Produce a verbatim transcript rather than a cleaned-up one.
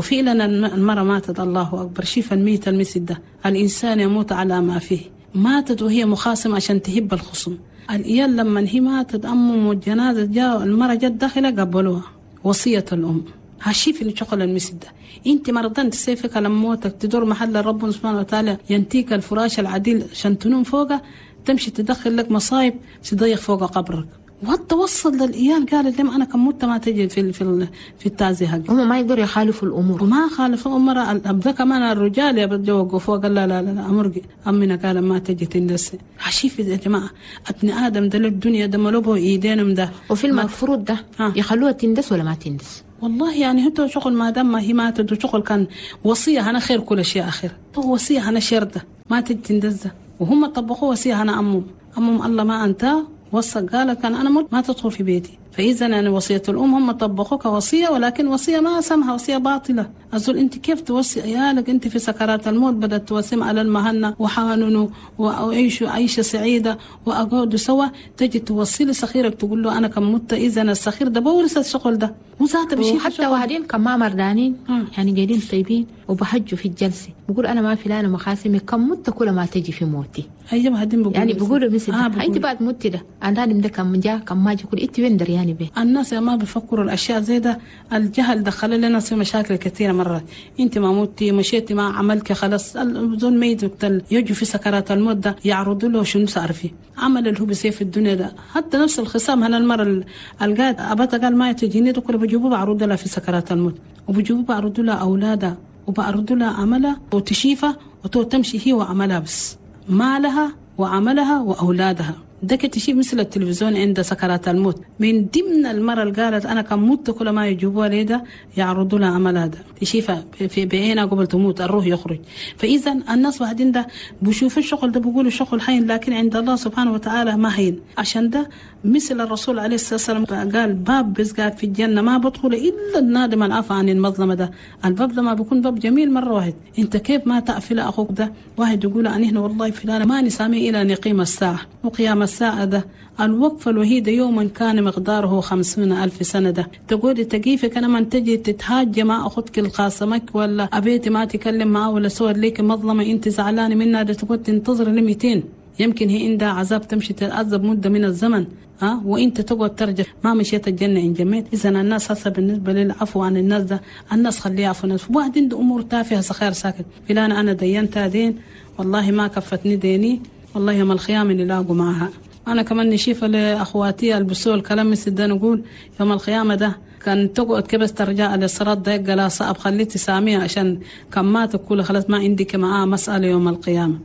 وفعلا المرأة ماتت. الله أكبر، شيف الميت المسد ده، الإنسان يموت على ما فيه. ماتت وهي مخاصمة عشان تهب الخصم. الإيال لما هي ماتت أمهم والجنازة جاء المرأة جت داخلة قبلوها وصية الأم. هالشي اللي شغل المسد ده، انت مرضان تسيفك لما موتك تدور محل ربنا سبحانه وتعالى ينتيك الفراش العديل عشان تنوم فوقه، تمشي تدخل لك مصايب تضيق فوق قبرك. وتوصل للإيال قالت لهم أنا كم مت ما تجي في في في التعزية حقي. هم ما يقدروا يخالفوا الأمور. وما خالفوا أمر الأب كمان الرجال يا بدو وقفوا قال لا لا لا أمرقي أمنا قال ما تجي تندس. عشيف يا جماعة ابن آدم ده الدنيا ده ملوبه إيدينهم ده. وفي المفروض ده يخلوها تندس ولا ما تندس؟ والله يعني هو شغل ما دام ما هي ماتت وشغل كان وصية أنا خير كل شيء آخر، هو وصية أنا شردة ما تجي تندس، وهم طبقوا وصية أنا أمهم أمهم الله ما أنت وصى قال كان أنا موت ما تدخل في بيتي. فإذا يعني وصية الأم هم طبقوها كوصية، ولكن وصية ما سمها وصية باطلة. أزول أنت كيف توصي عيالك أنت في سكرات الموت بدأت توصيهم على المهنة وحاننوا وعيشوا عيشة سعيدة وأقعدوا سوا، تجي توصي لصغيرك تقول له أنا كم مت، إذا الصغير ده بورث الشغل ده وذاته بشيء. وحتى واحدين كم ما مردانين يعني قاعدين طيبين وبحجوا في الجلسة بقول أنا ما فلانة مخاسمي كم مت كل ما تجي في موتي. أيوة هادين بقولوا يعني بقولوا مثل آه أنت بعد موتي ده أنا ده كم جا كم ما جا كل أنت وين درياني به. الناس ما بيفكروا الأشياء زي ده، الجهل دخل لنا في مشاكل كثيرة مرات. أنت ما موتي مشيتي ما عملك خلاص زول ميت وقتل يجوا في سكرات الموت ده يعرضوا له شنو صار فيه عمل اللي هو بيصير في الدنيا ده. حتى نفس الخصام هنا المرة القاد أبتا قال ما تجيني ده كله بيجيبوه بعرضوا لها في سكرات الموت، وبيجيبوه بعرضوا لها أولادها وبعرضوا لها عملها وتشيفها وتمشي هي وعملها بس مالها وعملها وأولادها. ده كتشيف مثل التلفزيون عند سكرات الموت. من ضمن المرة اللي قالت أنا كم مت كل ما يجيبوها ليدا يعرضوا لها عملها ده تشيفها في بعينها قبل تموت الروح يخرج. فإذا الناس واحدين ده بشوفوا الشغل ده بيقولوا الشغل حين، لكن عند الله سبحانه وتعالى ما هين. عشان ده مثل الرسول عليه الصلاة والسلام قال باب بس قاعد في الجنة ما بدخل إلا النادم العفو عن المظلمة ده. الباب ده ما بيكون باب جميل مرة واحد. أنت كيف ما تقفل أخوك ده؟ واحد يقول أنا هنا والله فلان ما نسامي إلى نقيم الساعة وقيام الساعة ده الوقفة الوحيدة يوما كان مقداره خمسون ألف سنة ده. تقول تقيفك أنا من تجي تتهاج مع أختك الخاصمك ولا أبيتي ما تكلم معه ولا صور ليك مظلمة أنت زعلانة منها ده تقول تنتظر لميتين يمكن هي عندها عذاب تمشي تتعذب مدة من الزمن ها وانت تقعد ترجع ما مشيت الجنة إن جميت. إذا الناس هسه بالنسبة للعفو عن الناس ده الناس خليها عفو الناس. واحد عنده أمور تافهة صغير ساكت فلان أنا دينتها دين والله ما كفتني ديني والله يوم القيامة نلاقوا معها. أنا كمان نشيف لأخواتي البسوا الكلام مثل ده نقول يوم القيامة ده كان تقعد كبس ترجع للصراط ده لا صعب خليتي سامية عشان كم ما تقول خلاص ما عندك معاه مسألة يوم القيامة.